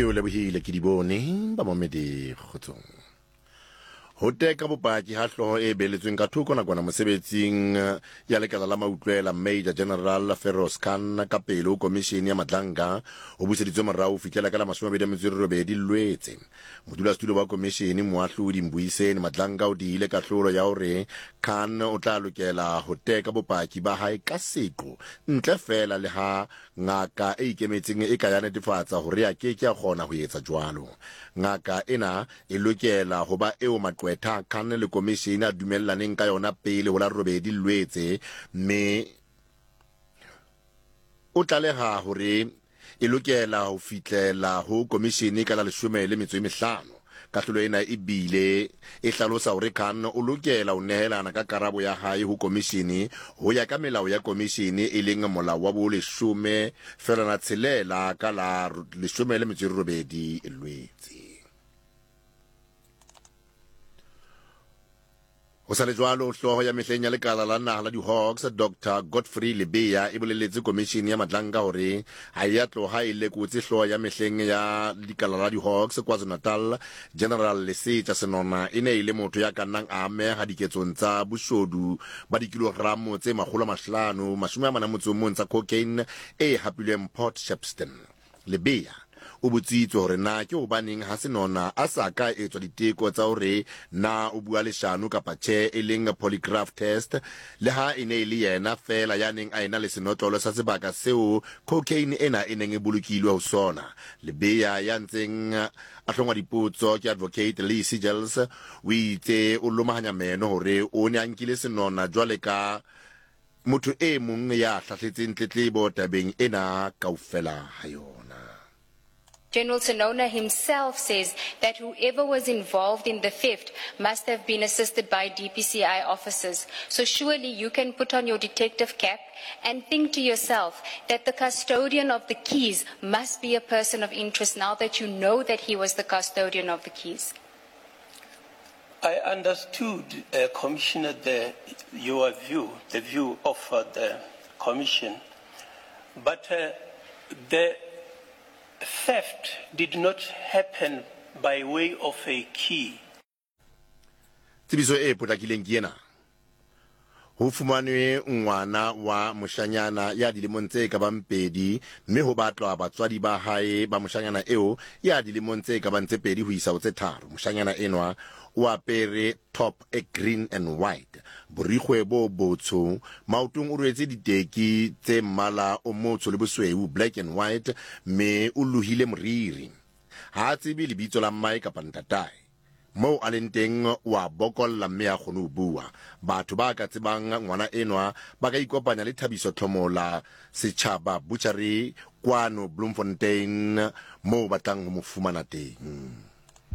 Ke o lebohile ke di bone ba mamedi kgotsong. Ho teka bopaki ha hlooho e beeletsweng ka thoko nakwana mosebetsing ya lekala la mautlwela Major General Feroz Khan ka pele ho komishene ya Madlanga ho buseditswe morao ho fihlela ka la 28 Lwetse. Modulasetulo wa komishene Moahlodi Mbuyiseni Madlanga o diile kahlolo ya hore Khan o tla lokela ho teka bopaki ba hae ka seqo ntle feela le ha Ngaka e ikemetseng e ka ya netefatsa hore a ke ke a kgona ho etsa jwalo. Ngaka ena e lokela ho ba eo maqwetha a Khan le komishene a dumellaneng ka yona pele ho la robedi Lwetse mme o tlaleha hore e lokela ho fihlela ho komishene ka la 15. Kahlolo ena e bile e hlalosa hore Khan o lokela ho nehelana ka karabo ya hae ho komishene ho ya ka melao ya komishene e leng Molao wa bo 16 ka la 18 Lwetse. Ho sa le jwalo, hlooho ya mehleng ya lekala la naha la di-Hawks, Doctor Godfrey Lebeya, e boleletse komishene ya Madlanga hore ha e ya tloha e lekotse hlooho ya mehleng ya lekala la di-Hawks KwaZulu-Natal, General Lesetja Senona, e ne e le motho ya ka nnang a ameha diketsong tsa boshodu ba dikilogramo tse 541 tsa cocaine e hapilweng Port Shepstone. Lebeya o botsitswe hore na ke hobaneng ha Senona a sa ka etswa diteko tsa hore na o bua leshano kapa tjhe e leng polygraph test le ha e ne e le yena feela ya neng a ena le senotlolo sa sebaka seo cocaine ena e neng e bolokilwe ho sona. Lebeya ya ntseng a hlongwa dipotso ke Advocate Lee Seegels o itse o lomahanya meno hore o ne a nkile Senona jwale ka Motho e mong ya hlahletseng tletlebo tabeng ena kaofela ha yona. General Senona himself says that whoever was involved in the theft must have been assisted by DPCI officers. So surely you can put on your detective cap and think to yourself that the custodian of the keys must be a person of interest now that you know that he was the custodian of the keys. I understood, uh, Commissioner, the, your view, the view of uh, the Commission, but uh, the theft did not happen by way of a key. Tsebiso e potlakileng ke ena. Ho fumanwe ngwana wa moshanyana ya dilemong tse ka bang pedi mme ho batlwa batswadi ba hae ba moshanyana eo ya dilemong tse ka bang tse pedi ho isa ho tse tharo. Moshanyana enwa o apere top e green and white, borikgwe bo botsho, maotong o rwetse diteki tse mmala o motsho le bosweu, black and white, mme o lohile moriri. Ha a tsebe lebitso la mmae kapa ntatae. Moo a leng teng o a bokolla mme ha kgone ho bua. Batho ba ka tsebang ngwana enwa ba ka ikopanya le Thabiso Tlhomola Setjhaba Butchery kwano Bloemfontein moo ba tlang ho mo fumana teng.